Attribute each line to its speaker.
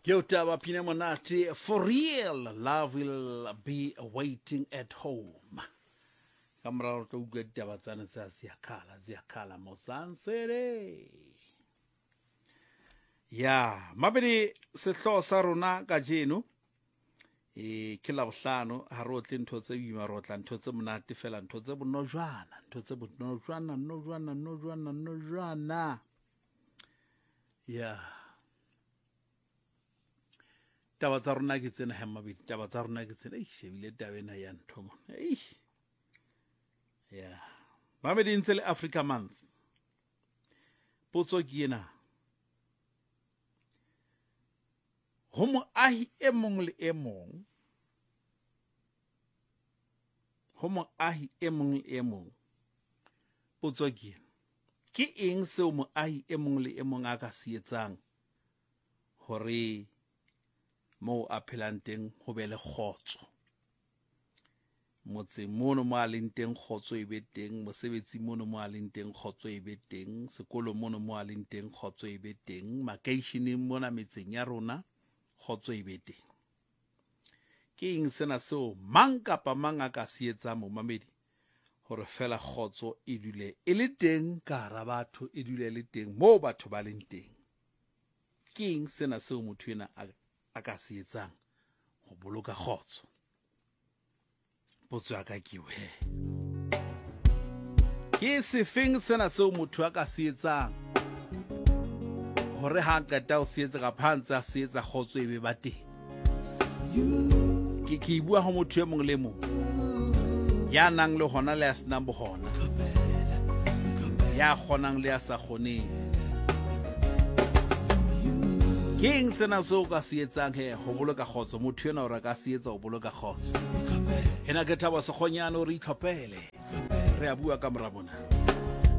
Speaker 1: Ke o taba pina monate for real love will be waiting at home. Ka morago re tlo utlwa ditaba tsane tsa Ziyakhala Ziyakhala Mosansele. Ya, mabedi sehloho sa rona kajeno e ke labohlano ha re otle ntho tse boima re otla ntho tse monate fela ntho tse bonojwana ntho tse bonojwana nojwana nojwana nojwana ya taba tsa rona ke tsena he mabedi taba tsa rona ke tsena ei shebile taba ena ya ntho mona ei ya mamedi ntse le Africa Month potso ke ena ho moahi e mong le e mong ho moahi e mong le e mong potso ke ena ke eng seo moahi e mong le e mong a ka se etsang hore moo a phelang teng ho be le kgotso Motseng mono mo a leng teng kgotso e be teng, mosebetsing mono mo a leng teng kgotso e be teng, sekolong mono mo a leng teng kgotso e be teng, makeisheneng mona metseng ya rona kgotso e be teng. Ke eng sena seo mang kapa mang a ka se etsang momamedi hore fela kgotso e dule e le teng ka hara batho, e dule e le teng moo batho ba leng teng? Ke eng sena seo motho ena a ka se etsang ho boloka kgotso? Potso ya ka ke he ke sefeng sena seo motho a ka se etsang hore ha a qeta ho se etsa kapa ha ntse a se etsa kgotso e be ba teng? Ke ke e bua ho motho e mong le mong ya nang le hona le ya senang bohona, ya kgonang le ya sa kgoneng. Ke eng sena seo o ka se etsang he ho boloka kgotso? Motho enwa o re ka se etsa ho boloka kgotso. Ena ke Thabo Sekgonyane o re itlhophele. Re a bua ka mora mona.